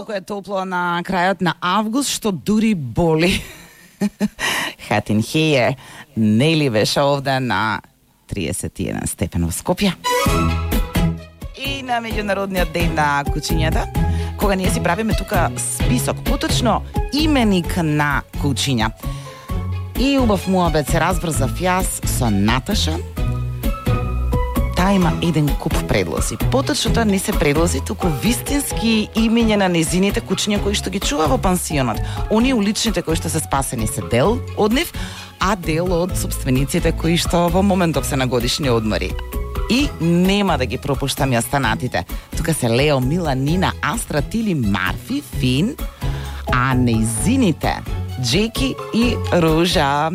толку е топло на крајот на август што дури боли. Hat in here. Нели беше овде на 31 степен во Скопје. И на меѓународниот ден на кучињата, кога ние си правиме тука список, поточно именик на кучиња. И убав муабет се разбрзав јас со Наташа. Таа има еден куп предлози. Поточно тоа не се предлози, туку вистински имиња на незините кучиња кои што ги чува во пансионот. Оние уличните кои што се спасени се дел од нив, а дел од собствениците кои што во моментов се на годишни одмори. И нема да ги пропуштам ја станатите. Тука се Лео, Мила, Нина, Астра, Тили, Марфи, Фин, а незините Джеки и Ружа.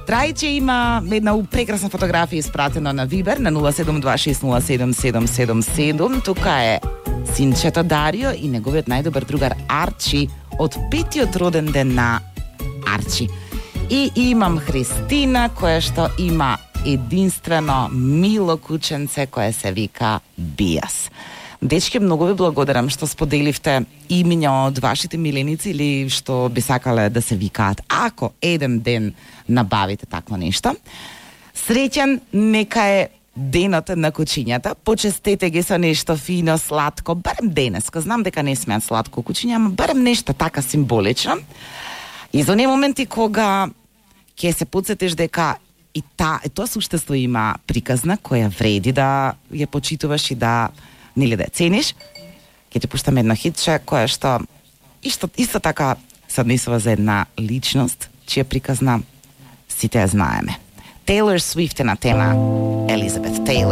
Трајче има една прекрасна фотографија испратена на Вибер на 0726077777. Тука е синчето Дарио и неговиот најдобар другар Арчи од 5-тиот роден ден на Арчи. И имам Христина која што има единствено мило кученце кое се вика Бијас. Дечки, многу ви благодарам што споделивте имиња од вашите миленици или што би сакале да се викаат. Ако еден ден набавите такво нешто, среќен нека е денот на кучињата. Почестете ги со нешто фино, сладко, барем денеска. Знам дека не смеат сладко кучиња, ама барем нешто така символично. И за оние моменти кога ќе се подсетиш дека и тоа суштество има приказна која вреди да ја почитуваш и да нели да цениш, ќе ти пуштам едно хитче која што исто така се однесува за една личност чија приказна сите ја знаеме. Тейлор Свифт е на тема Елизабет Тейлор.